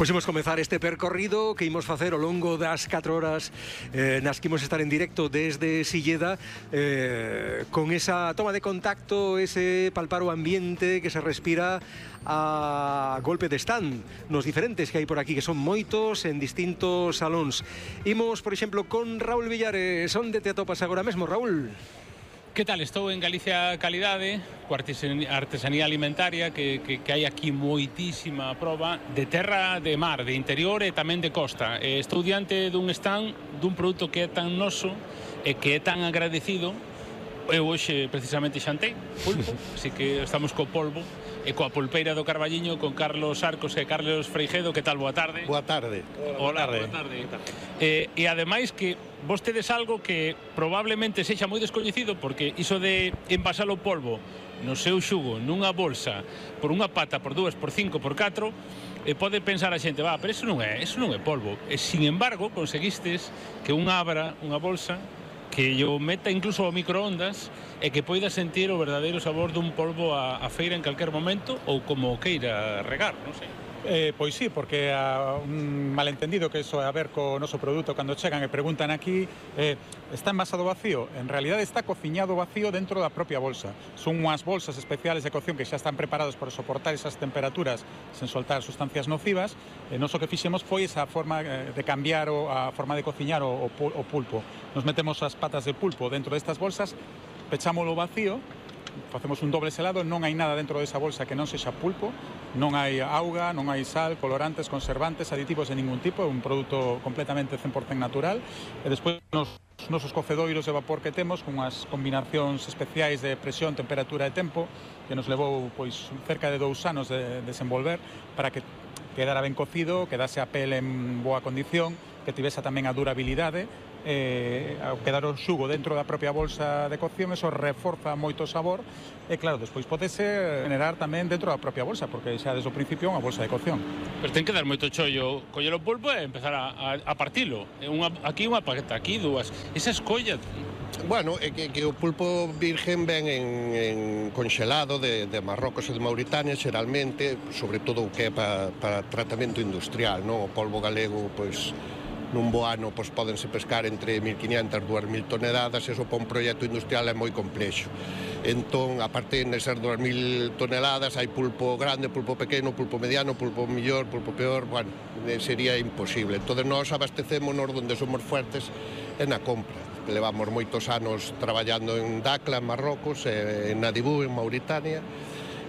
Pois imos comezar este percorrido que imos facer ao longo das 4 horas nas que imos estar en directo desde Silleda, con esa toma de contacto, ese palpar o ambiente que se respira a golpe de stand nos diferentes que hai por aquí, que son moitos en distintos salóns. Imos, por exemplo, con Raúl Villares. Onde te atopas agora mesmo, Raúl? Que tal? Estou en Galicia Calidade, coa artesanía alimentaria, que hai aquí moitísima proba de terra, de mar, de interior e tamén de costa. Estou diante dun stand dun produto que é tan noso e que é tan agradecido. Eu hoxe precisamente xantei pulpo, así que estamos co polvo e coa pulpeira do Carballiño con Carlos Arcos e Carlos Freijedo. Que tal? Boa tarde. Boa tarde. Hola, boa tarde. E ademais que vos tedes algo que probablemente sexa moi descoñecido, porque iso de envasar o polvo no seu xugo nunha bolsa por unha pata, por 2, por 5, por 4, pode pensar a xente, pero eso non é polvo. E, sin embargo, conseguistes que abra unha bolsa que yo meta incluso ao microondas e que poida sentir o verdadeiro sabor dun polvo a feira en calquer momento, ou como queira regar, non sei. Pois sí, porque un malentendido que iso é a ver co noso produto cando chegan e preguntan aquí, está envasado vacío? En realidade está cociñado vacío dentro da propia bolsa. Son unhas bolsas especiales de cocción que xa están preparados para soportar esas temperaturas sen soltar sustancias nocivas. Nos o que fixemos foi esa forma de cambiar a forma de cociñar o pulpo. Nos metemos as patas de pulpo dentro destas bolsas, pechámolo vacío, facemos un doble selado, non hai nada dentro desa bolsa que non sexa pulpo, non hai auga, non hai sal, colorantes, conservantes, aditivos de ningún tipo, é un produto completamente 100% natural. E despois nos nosos cocedoiros de vapor que temos, con unhas combinacións especiais de presión, temperatura e tempo, que nos levou pois cerca de 2 anos de desenvolver para que quedara ben cocido, quedase a pele en boa condición, que tivese tamén a durabilidade. Ao quedar o xugo dentro da propia bolsa de cocción, eso reforza moito o sabor e claro, despois podese generar tamén dentro da propia bolsa, porque xa desde o principio é unha bolsa de cocción. Pero ten que dar moito chollo coller o pulpo e empezar a partilo. Aquí unha paqueta, aquí dúas. Esa escolla... Bueno, é que o pulpo virgen ven en conxelado de Marrocos e de Mauritania, xeralmente, sobre todo o que é para tratamento industrial, non? O polvo galego, pois... nun bo ano podense pescar entre 1.500 e 2.000 toneladas, e iso para un proxecto industrial é moi complexo. Entón, a partir de ser 2.000 toneladas, hai pulpo grande, pulpo pequeno, pulpo mediano, pulpo millor, pulpo peor, bueno, sería imposible. Entón, nós abastecémonos onde somos fuertes é na compra. Levamos moitos anos traballando en Dakla, en Marrocos, en Nadibú, en Mauritania,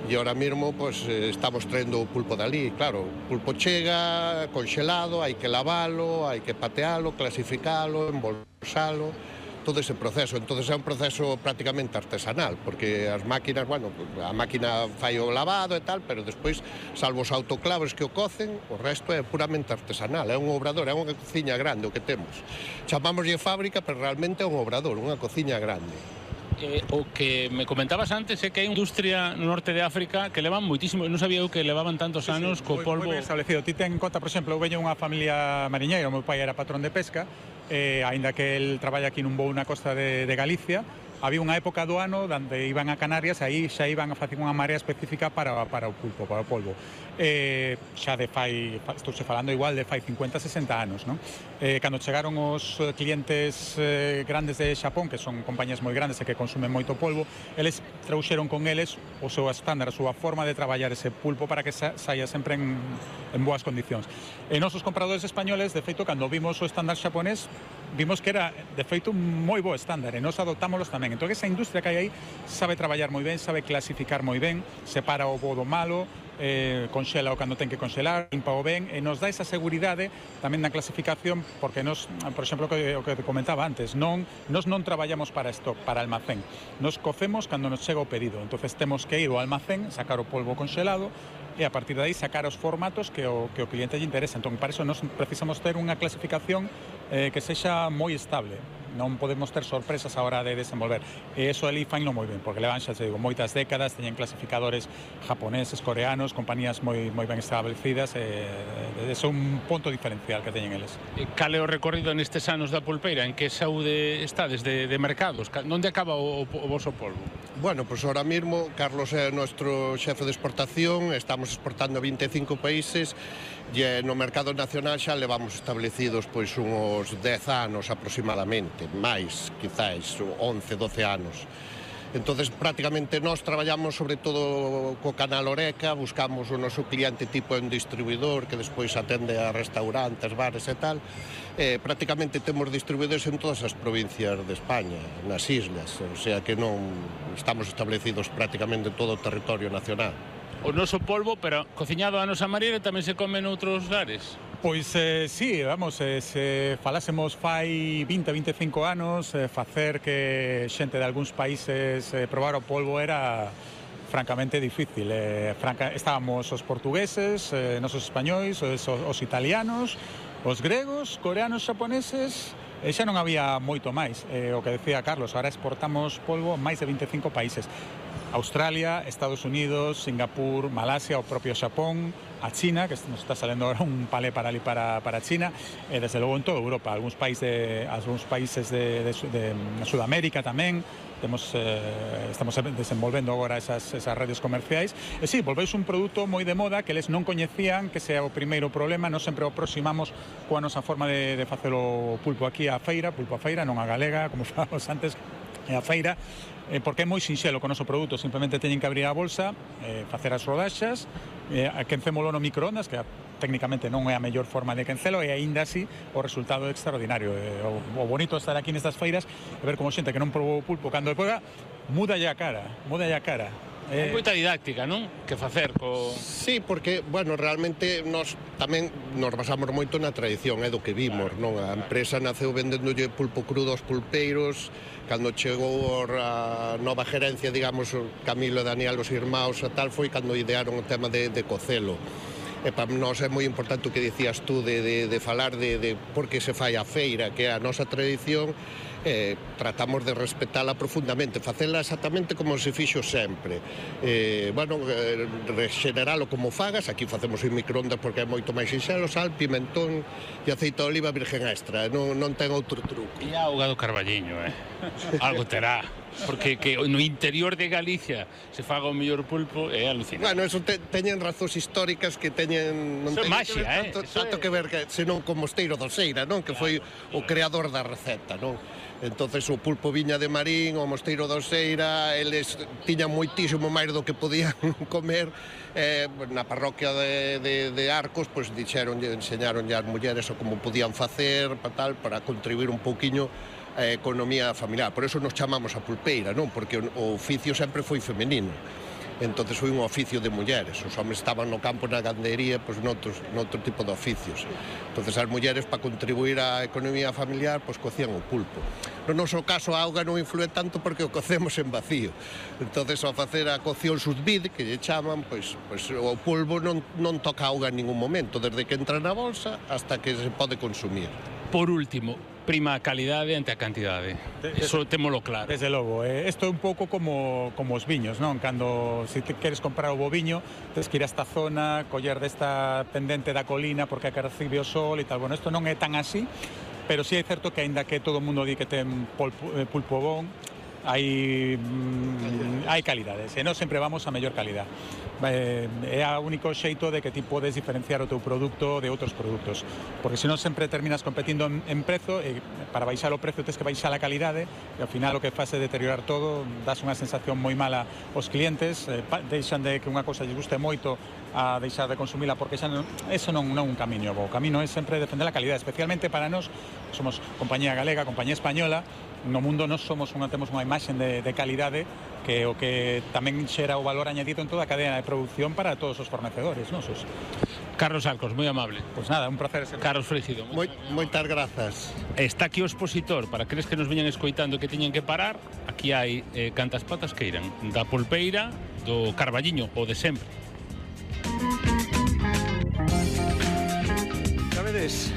e ahora mesmo pues, estamos traendo o pulpo dali. Claro, o pulpo chega conxelado, hai que lavalo, hai que patealo, clasificalo, embolsalo, todo ese proceso. Entón é un proceso prácticamente artesanal, porque as máquinas, bueno, a máquina fai o lavado e tal, pero despois, salvo os autoclavos que o cocen, o resto é puramente artesanal. É un obrador, é unha cociña grande o que temos. Chamámoslle fábrica, pero realmente é un obrador, unha cociña grande. O que me comentabas antes é que hai industria no norte de África que levan moitísimo, non sabía eu que levaban tantos anos co polvo. Moi ben establecido. Ti ten en conta, por exemplo, eu veño unha familia mariñeira, o meu pai era patrón de pesca, aínda que el traballa aquí nun voo na costa de Galicia, había unha época do ano onde iban a Canarias, aí xa iban a facer unha marea específica para o pulpo, para o polvo. Xa de estou falando igual de fai 50, 60 anos, non? Cando chegaron os clientes grandes de Xapón, que son compañías moi grandes e que consumen moito polvo, eles trouxeron con eles o seu estándar, a súa forma de traballar ese pulpo para que saia sempre en boas condicións. E nosos compradores españoles, de feito, cando vimos o estándar xaponés, vimos que era, de feito, un moi bo estándar, e nos adoptámoslos tamén. Entón, esa industria que hai aí sabe traballar moi ben, sabe clasificar moi ben, separa o bo do malo, conxela o cando ten que conxelar, limpa o ben, e nos dá esa seguridade tamén na clasificación, porque nos, por exemplo, o que te comentaba antes, nos non traballamos para stock, para almacén. Nos cocemos cando nos chega o pedido. Entonces temos que ir ao almacén, sacar o polvo conxelado, e a partir de aí sacar os formatos que o cliente lle interesa. Entón, para iso nos precisamos ter unha clasificación que sexa moi estable. Non podemos ter sorpresas a hora de desenvolver. E iso ali faino moi ben, porque levan, xa te digo, moitas décadas, teñen clasificadores japoneses, coreanos, compañías moi ben establecidas, e é un punto diferencial que teñen eles. Cal é o recorrido nestes anos da pulpeira? En que saúde está desde de mercados? Onde acaba o voso polvo? Bueno, pues ahora mismo Carlos é nuestro xefe de exportación, estamos exportando a 25 países e no mercado nacional xa levamos establecidos pois uns 10 anos aproximadamente, máis, quizáis 11, 12 anos. Entonces, prácticamente nós traballamos sobre todo co canal Oreca, buscamos o noso cliente tipo un distribuidor que despois atende a restaurantes, bares e tal. Prácticamente temos distribuidores en todas as provincias de España, nas islas, o sea que non estamos establecidos prácticamente en todo o territorio nacional. O noso polvo, pero cociñado a nosa maneira, tamén se come noutros lares? Pois sí, vamos, se falásemos fai 20-25 anos, facer que xente de algúns países probar o polvo era francamente difícil. Estábamos os portugueses, nosos españois, os italianos, os gregos, coreanos, xaponeses, e xa non había moito máis. O que decía Carlos, ahora exportamos polvo a máis de 25 países. Australia, Estados Unidos, Singapur, Malasia, o propio Xapón, a China, que nos está saliendo ahora un palé para China, e desde logo en toda Europa, algúns países de Sudamérica tamén. Estamos desenvolvendo agora esas redes comerciais. E sí, volveis un produto moi de moda que eles non coñecían, que sea o primeiro problema. Nos sempre o aproximamos coa nosa forma de facer o pulpo aquí á feira, pulpo a feira, non a galega, como falamos antes, a feira, porque é moi sinxelo con o noso produto. Simplemente teñen que abrir a bolsa, facer as rodaxas, quencémolo no microondas, que técnicamente non é a mellor forma de quencelo, e aínda así o resultado é extraordinario. O bonito de estar aquí nestas feiras é ver como xente que non probou o pulpo, cando pega, mudalle a cara. É moita didáctica, non? Que facer co... Sí, porque, bueno, realmente nós tamén nos basamos moito na tradición, é do que vimos, non? A empresa naceu vendéndolle pulpo crudo aos pulpeiros, cando chegou a nova gerencia, digamos, Camilo e Daniel, os irmãos e tal, foi cando idearon o tema de cocelo. E para nós é moi importante o que dicías tú de falar de por que se fai a feira, que é a nosa tradición. Tratamos de respetala profundamente, facela exactamente como se fixo sempre. Rexeneralo como fagas, aquí facemos en microondas porque é moito máis sinxelo, sal, pimentón e aceite de oliva virgen extra, non ten outro truco. E a auga do Carballiño, algo terá. Porque que no interior de Galicia se faga o mellor pulpo é alucinante. Bueno, eso teñen razóns históricas que teñen... Non teñen que ver tanto que ver senón con Mosteiro de Oseira, non? Que foi o creador da receta, non? Entonces o pulpo viña de Marín, o Mosteiro de Oseira, eles tiñan moitísimo máis do que podían comer. Na parroquia de Arcos, pois enseñaronlle ás mulleres o como podían facer para contribuir un pouquiño a economía familiar. Por eso nos chamamos a pulpeira, non? Porque o oficio sempre foi femenino. Entonces foi un oficio de mulleres. Os homens estaban no campo, na gandería, pois noutro tipo de oficios. Entonces as mulleres, para contribuir á economía familiar, pois cocían o pulpo. No noso caso, a auga non influe tanto porque o cocemos en vacío. Entonces, ao facer a cocción sous vide, que lle chaman, pois o polvo non toca auga en ningún momento, desde que entra na bolsa hasta que se pode consumir. Por último, prima a calidade ante a cantidade. Eso témolo claro. Desde logo, isto é un pouco como os viños, non? Cando se queres comprar o bo viño, tens que ir a esta zona, coller desta pendente da colina porque é que recibe o sol e tal. Bueno, isto non é tan así, pero sí é certo que aínda que todo o mundo di que ten pulpo bon, hai calidades, e non sempre vamos a mellor calidad. É o único xeito de que ti podes diferenciar o teu produto de outros produtos, porque senón sempre terminas competindo en prezo, e para baixar o prezo tens que baixar a calidade, e ao final o que faz é deteriorar todo, das unha sensación moi mala aos clientes, deixan de que unha cousa lles guste moito a deixar de consumila, porque eso non é un camiño bo. O camiño é sempre defender a calidade, especialmente para nós, somos compañía galega, compañía española. No mundo temos unha imaxe de calidade que o que tamén xera o valor añadido en toda a cadena de producción para todos os fornecedores nosos. Carlos Arcos, moi amable. Pois nada, un placer ser. Carlos Frígido. Moitas grazas. Está aquí o expositor, para aqueles que nos veñan escoitando que teñen que parar, aquí hai cantas patas que irán, da pulpeira, do Carballiño, o de sempre.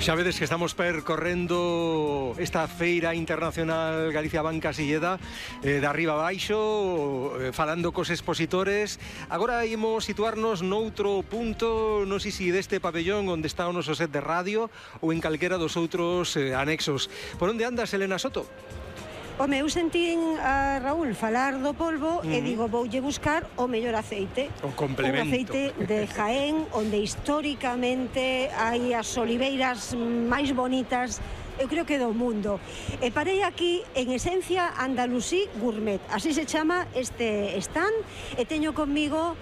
Xa vedes que estamos percorrendo esta feira internacional Galicia Banca Silleda de arriba a baixo, falando cos expositores. Agora imos situarnos noutro punto, non sei se deste pabellón onde está o noso set de radio ou en calquera dos outros anexos. Por onde andas, Elena Soto? Home, eu sentín a Raúl falar do polvo e digo, voulle buscar o mellor aceite. O complemento. Un aceite de Jaén, onde históricamente hai as oliveiras máis bonitas, eu creo que do mundo. E parei aquí en Esencia Andalusí Gourmet, así se chama este stand, e teño conmigo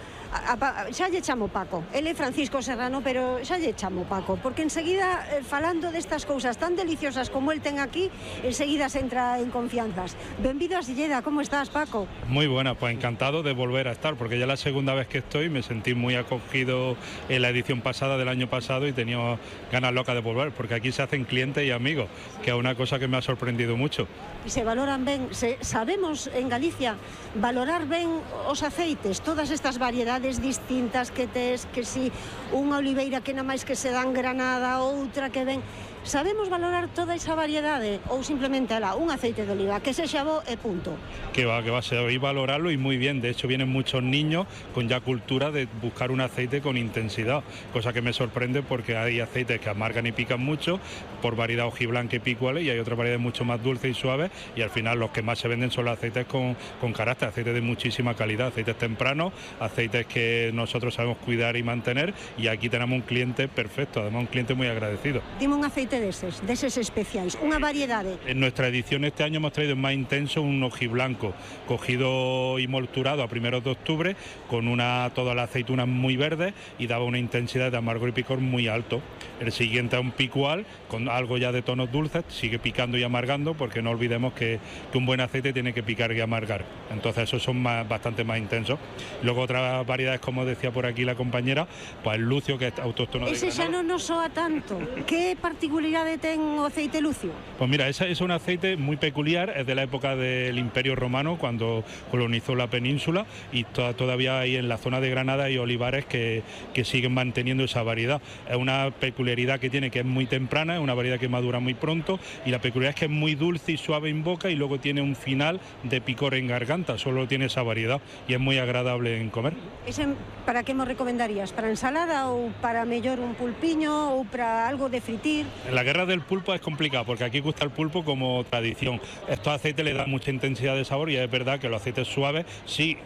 xa lle chamo Paco, ele é Francisco Serrano, pero xa lle chamo Paco, porque enseguida, falando destas cousas tan deliciosas como el ten aquí, enseguida se entra en confianzas. Benvido a Silleda, ¿cómo estás, Paco? Muy buena, pues encantado de volver a estar, porque ya la segunda vez que estoy me sentí muy acogido en la edición pasada del año pasado y tenía ganas locas de volver, porque aquí se hacen clientes y amigos, que es una cosa que me ha sorprendido mucho. E se valoran ben, sabemos en Galicia valorar ben os aceites, todas estas variedades distintas que tes, que si unha oliveira que na máis que se dan Granada, outra que ven, sabemos valorar toda esa variedade ou simplemente un aceite de oliva que sexa bo e punto? Que va, sabéis valorarlo y muy bien. De hecho, vienen muchos niños con ya cultura de buscar un aceite con intensidad, cosa que me sorprende porque hay aceites que amargan y pican mucho por variedad hojiblanca y picuales, y hay otras variedades mucho más dulces y suaves, y al final los que más se venden son los aceites con carácter, aceites de muchísima calidad, aceites tempranos, aceites que nosotros sabemos cuidar y mantener, y aquí tenemos un cliente perfecto, además un cliente muy agradecido. Dime un aceite deses especiais, unha variedade. En nuestra edición este año hemos traído más intenso un hojiblanco, cogido y molturado a primeros de octubre, con todas las aceitunas muy verdes, y daba una intensidad de amargor y picor muy alto. El siguiente es un picual, con algo ya de tonos dulces, sigue picando y amargando, porque no olvidemos que un buen aceite tiene que picar y amargar. Entonces esos son bastante más intensos. Luego otras variedades, como decía por aquí la compañera, pues el lucio, que es autóctono de Granada. Ese xa non nos soa tanto. Que particularidade ten o aceite lucio? Pues mira, ese es un aceite muy peculiar, es de la época del Imperio Romano, cuando colonizó la península, y todavía hay en la zona de Granada hay olivares que siguen manteniendo esa variedad. Es una peculiaridad que tiene, que es muy temprana, es una variedad que madura muy pronto, y la peculiaridad es que es muy dulce y suave en boca, y luego tiene un final de picor en garganta, solo tiene esa variedad, y es muy agradable en comer. Ese, para que me recomendarías? Para ensalada ou para mellor un pulpiño ou para algo de fritir? La guerra del pulpo es complicada, porque aquí gusta el pulpo como tradición. Estos aceites le dan mucha intensidad de sabor, y es verdad que los aceites suaves sí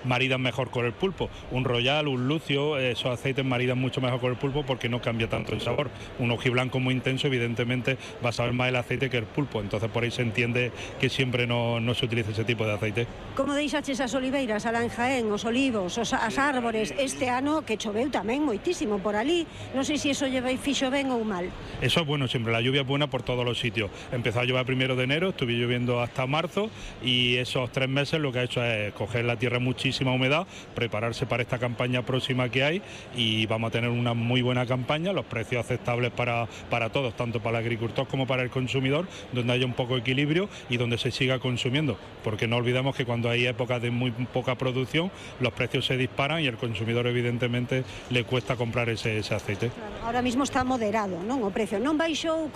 maridan mejor con el pulpo. Un royal, un lucio, esos aceites maridan mucho mejor con el pulpo porque no cambia tanto el sabor. Un hojiblanco muy intenso evidentemente va a saber más el aceite que el pulpo, entonces por ahí se entiende que siempre no se utiliza ese tipo de aceite. Como deixaches as oliveiras alá en Jaén, os olivos, as árbores, este ano que choveu tamén moitísimo por ali, non sei se iso fixo ben ou mal. Eso es bueno siempre, la lluvia es buena por todos los sitios. Empezó a llover 1 de enero, estuve lloviendo hasta marzo, y esos 3 meses lo que ha hecho es coger la tierra muchísima humedad, prepararse para esta campaña próxima que hay, y vamos a tener una muy buena campaña, los precios aceptables para todos, tanto para el agricultor como para el consumidor, donde haya un poco de equilibrio y donde se siga consumiendo, porque no olvidemos que cuando hay épocas de muy poca producción, los precios se disparan y el consumidor evidentemente le cuesta comprar ese aceite. Claro, ahora mismo está moderado, non? O precio non baixou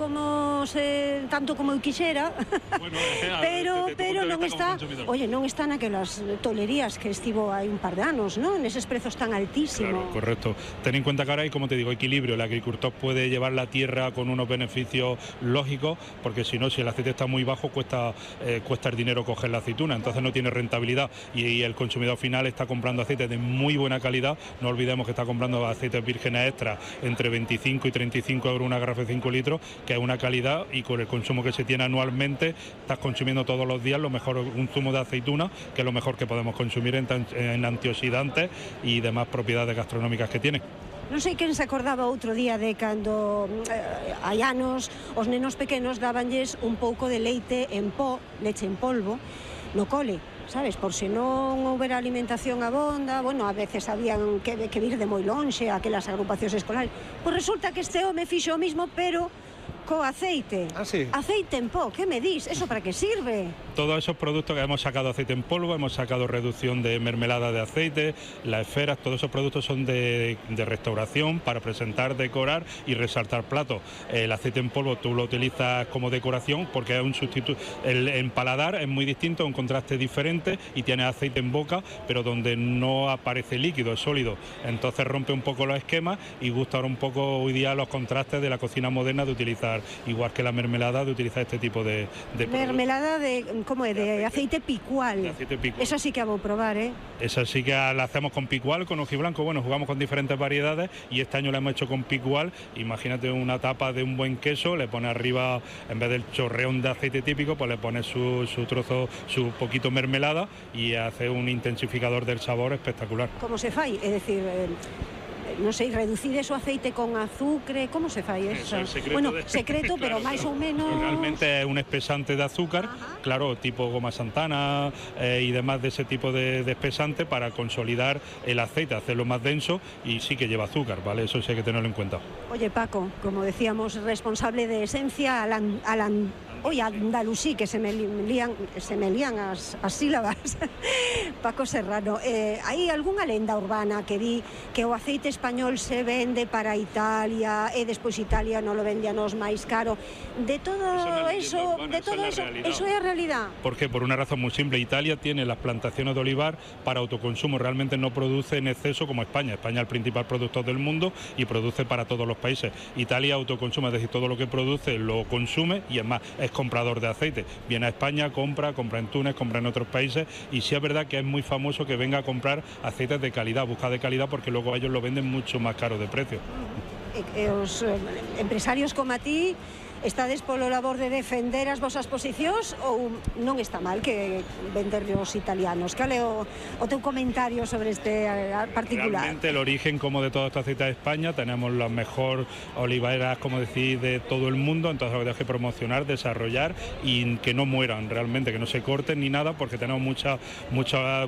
tanto como eu quixera, Bueno, pero non está, non está naquelas tolerías que estivo hai un par de anos, non? Neses prezos tan altísimos. Claro, correcto. Ten en cuenta que ahora hay, como te digo, equilibrio. El agricultor puede llevar la tierra con unos beneficios lógicos, porque si no, si el aceite está muy bajo, cuesta el dinero coger la aceituna, entonces no tiene rentabilidad, y el consumidor final está comprando aceite de muy buena calidad. No olvidemos que está comprando aceites vírgenes extra entre 25 y 35 euros una garrafa de 5 litros, que es una calidad, y con el consumo que se tiene anualmente estás consumiendo todos los días lo mejor, un zumo de aceituna, que es lo mejor que podemos consumir en antioxidantes y demás propiedades gastronómicas que tiene. Non sei quen se acordaba outro día de cando hai anos os nenos pequenos dabanlles un pouco de leite en pó, leche en polvo, no cole, sabes, por se non houbera alimentación abonda, bueno, a veces habían que vir de moi lonxe aquelas agrupacións escolares. Pois resulta que este home fixo o mismo, pero co aceite. Ah, sí. Aceite en pó, ¿qué me dis? ¿Eso para qué sirve? Todos esos productos que hemos sacado aceite en polvo, hemos sacado reducción de mermelada de aceite, las esferas, todos esos productos son de restauración para presentar, decorar y resaltar platos. El aceite en polvo tú lo utilizas como decoración porque es un sustituto. En paladar es muy distinto, un contraste diferente, y tiene aceite en boca, pero donde no aparece líquido, es sólido. Entonces rompe un poco los esquemas y gusta ahora un poco hoy día los contrastes de la cocina moderna de utilizar utilizar, igual que la mermelada, de utilizar este tipo de mermelada de, como é, de aceite picual. De aceite picual. Esa sí que a vou probar, Esa sí que la hacemos con picual, con hojiblanco. Bueno, jugamos con diferentes variedades y este año la hemos hecho con picual. Imagínate una tapa de un buen queso, le pone arriba, en vez del chorreón de aceite típico, pues le pone su trozo, su poquito mermelada y hace un intensificador del sabor espectacular. Como se fai? É dicir, non sei, reducir eso aceite con azúcar, como se fai eso? Secreto, pero máis ou menos... Realmente es un espesante de azúcar, claro, tipo goma santana y demás de ese tipo de espesante para consolidar el aceite, hacerlo más denso, y sí que lleva azúcar, ¿vale? Eso sí hay que tenerlo en cuenta. Oye, Paco, como decíamos, responsable de Esencia Andalusí, que se me lían as sílabas. Paco Serrano, hai algunha lenda urbana que di que o aceite español se vende para Italia e despois Italia non lo vende a nos máis caro. De todo eso, eso é a realidad. ¿Por qué? Por una razón muy simple. Italia tiene las plantaciones de olivar para autoconsumo, realmente no produce en exceso como España. España es el principal productor del mundo y produce para todos los países. Italia autoconsume, es decir, todo lo que produce lo consume y es más, es comprador de aceite. Viene a España, compra en Túnez, compra en otros países, y sí es verdad que es muy famoso que venga a comprar aceites de calidad, busca de calidad, porque luego ellos lo venden mucho más caro de precio. Os empresarios como a ti estades polo labor de defender as vosas posicións ou non está mal que venderle aos italianos? Cal é o teu comentario sobre este particular? Realmente el origen como de todo este aceite de España, tenemos las mejor oliveras, como decir, de todo el mundo, entonces lo que tenemos que promocionar, desarrollar y que no mueran realmente, que no se corten ni nada, porque tenemos mucho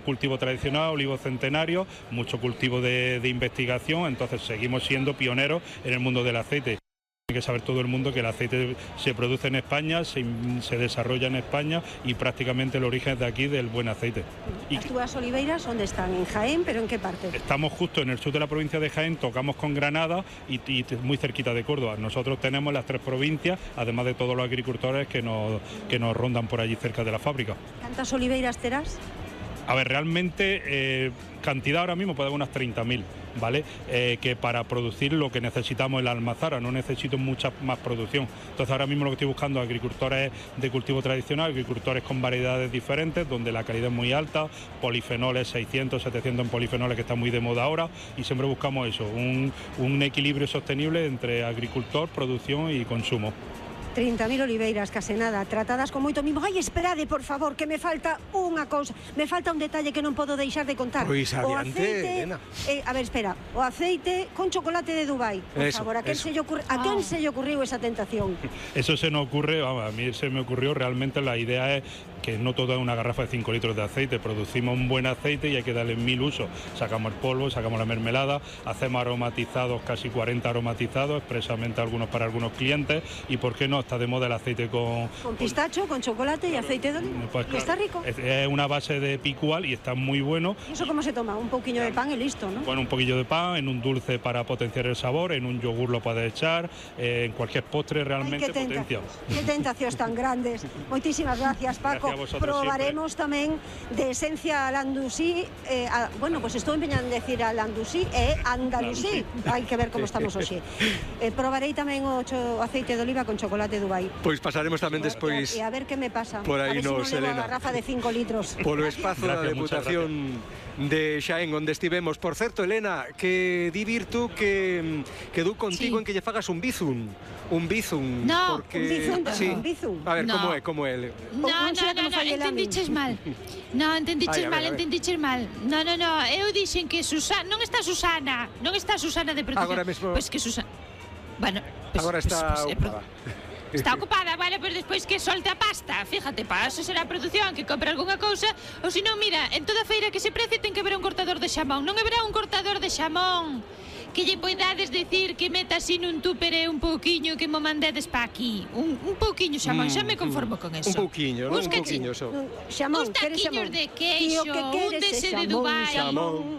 cultivo tradicional, olivo centenario, mucho cultivo de investigación, entonces seguimos siendo pioneros en el mundo del aceite. Tiene que saber todo el mundo que el aceite se produce en España, se desarrolla en España y prácticamente el origen es de aquí, del buen aceite. As túas oliveiras, onde están? En Jaén, pero en que parte? Estamos justo en el sur de la provincia de Jaén, tocamos con Granada y muy cerquita de Córdoba. Nosotros tenemos las 3 provincias, además de todos los agricultores que nos rondan por allí cerca de la fábrica. ¿Cuántas oliveiras terás? A ver, realmente cantidad ahora mismo puede haber unas 30.000, ¿vale? Que para producir lo que necesitamos en la almazara, no necesito mucha más producción. Entonces ahora mismo lo que estoy buscando es agricultores de cultivo tradicional, agricultores con variedades diferentes, donde la calidad es muy alta, polifenoles 600, 700 en polifenoles, que está muy de moda ahora, y siempre buscamos eso, un equilibrio sostenible entre agricultor, producción y consumo. 30.000 oliveiras, case nada, tratadas con moito mimo. Ai, esperade, por favor, que me falta unha cousa. Me falta un detalle que non podo deixar de contar. Pois o adiante, aceite, Elena. A ver, espera. O aceite con chocolate de Dubai. Por favor, a quen se lle ocurriu esa tentación? Eso se nos ocurre, vamos, a mí se me ocurrió, realmente la idea es que no todo es una garrafa de 5 litros de aceite, producimos un buen aceite y hay que darle 1000 usos. Sacamos el polvo, sacamos la mermelada, hacemos aromatizados, casi 40 aromatizados, expresamente algunos para algunos clientes, y por qué no, está de moda el aceite con pistacho, con chocolate y aceite de oliva. Pues claro, está rico. Es una base de picual y está muy bueno. ¿Y eso cómo se toma? Un poquillo de pan y listo, ¿no? Bueno, un poquillo de pan, en un dulce para potenciar el sabor, en un yogur lo puedes echar, en cualquier postre realmente potencia. Qué tentacións tan grandes. Moitísimas gracias, Paco. Probaremos tamén de Esencia Andalusí. Bueno, pues estou empeñando en decir Andalusí e Andalusí. Hai que ver como estamos hoxe. Probarei tamén o aceite de oliva con chocolate Dubai. Pois pasaremos tamén despois. E a ver que me pasa. Por aí nos, Elena. A garrafa de 5 litros. Polo espazo da Deputación de Xaén, onde estivemos. Por certo, Elena, que di Virtu que quedou contigo en que lle fagas un bizum. Un bizum. No, porque... un bizum. A ver, como é? No, entendiches mal. No, entendiches mal. No, eu dixen que Susana, non está Susana de protección. Agora mesmo. Pois que Susana. Bueno, agora está ocupada. Está ocupada, vale, pero despois que solte a pasta. Fíjate, para eso será a produción, que compre algunha cousa. Ou senón, mira, en toda feira que se precie ten que haber un cortador de xamón. Non haberá un cortador de xamón que lle poidades decir que meta así nun tupper un pouquiño que mo mandedes pa aquí. Un pouquiño xamón, xa me conformo con eso. Un pouquiño, non? Un pouquiño só. Xamón, uns taquiños de queixo, un dese de Dubai.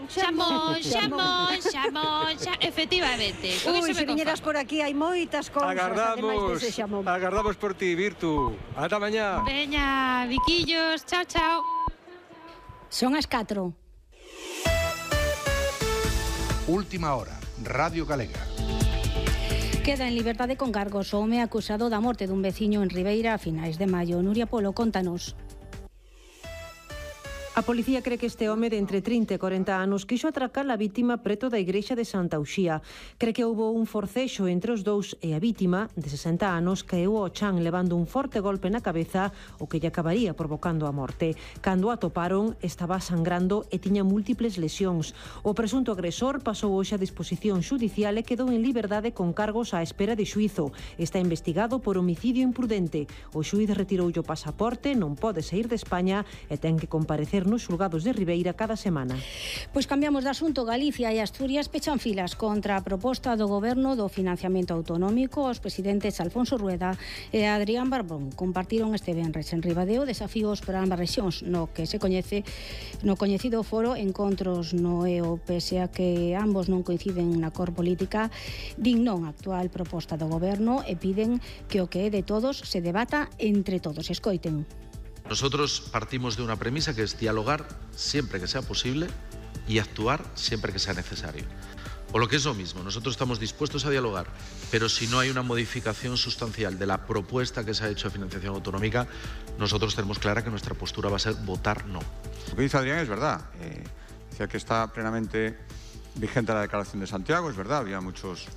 Xamón. Efectivamente. Ui, se viñeras por aquí hai moitas cousas, ademais dese xamón. Agardamos por ti, Virtu. Ata mañá. Veña, biquillos, chao. Son as 4. Última hora, Radio Galega. Queda en liberdade con cargos o home acusado da morte dun veciño en Ribeira a finais de maio. Nuria Polo, contanos. A policía cree que este home de entre 30 e 40 anos quixo atracar a vítima preto da igrexa de Santa Uxía. Cree que houbo un forcexo entre os dous e a vítima, de 60 anos, caeu ao chan levando un forte golpe na cabeza, o que lle acabaría provocando a morte. Cando a atoparon, estaba sangrando e tiña múltiples lesións. O presunto agresor pasou hoxe a disposición xudicial e quedou en liberdade con cargos á espera de xuízo. Está investigado por homicidio imprudente. O xuíz retiroulle o pasaporte, non pode saír de España e ten que comparecer nos xulgados de Ribeira cada semana. Pois cambiamos de asunto. Galicia e Asturias pechan filas contra a proposta do Goberno do financiamento autonómico. Os presidentes Alfonso Rueda e Adrián Barbón compartiron este venres en Ribadeo desafíos para ambas rexións no que se coñece no coñecido foro Encontros no EO. Pese a que ambos non coinciden na cor política, din non a actual proposta do Goberno e piden que o que é de todos se debata entre todos. Escoiten. Nosotros partimos de una premisa que es dialogar siempre que sea posible y actuar siempre que sea necesario. O lo que es lo mismo, nosotros estamos dispuestos a dialogar, pero si no hay una modificación sustancial de la propuesta que se ha hecho de financiación autonómica, nosotros tenemos clara que nuestra postura va a ser votar no. Lo que dice Adrián es verdad. Decía que está plenamente vigente la Declaración de Santiago, es verdad, había muchos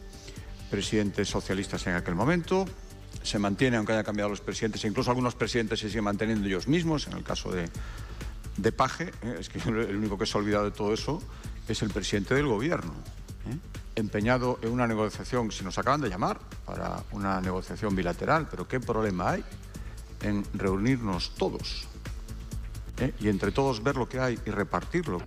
presidentes socialistas en aquel momento. Se mantiene, aunque haya cambiado los presidentes, e incluso algunos presidentes se siguen manteniendo ellos mismos, en el caso de Paje, es que el único que se ha olvidado de todo eso es el presidente del gobierno, empeñado en una negociación. Si nos acaban de llamar para una negociación bilateral, pero ¿qué problema hay en reunirnos todos? Y entre todos ver lo que hay y repartirlo.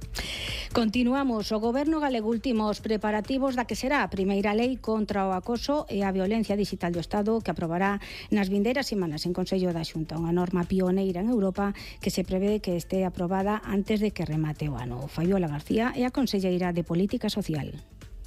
Continuamos. O Goberno galego ultima os preparativos da que será a primeira lei contra o acoso e a violencia digital do Estado, que aprobará nas vindeiras semanas en Consello da Xunta, unha norma pioneira en Europa que se prevé que este aprobada antes de que remate o ano. Fabiola García é a conselleira de Política Social.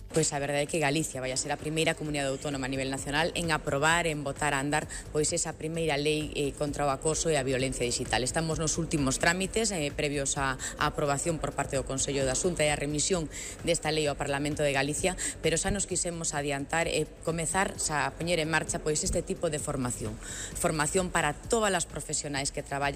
Pois a verdade é que Galicia vai a ser a primeira comunidade autónoma a nivel nacional en aprobar, en botar a andar pois esa primeira lei contra o acoso e a violencia digital. Estamos nos últimos trámites previos á aprobación por parte do Consello da Xunta e a remisión desta lei ao Parlamento de Galicia, pero xa nos quisemos adiantar e comezar a poñer en marcha pois este tipo de formación para todas as profesionais que traballan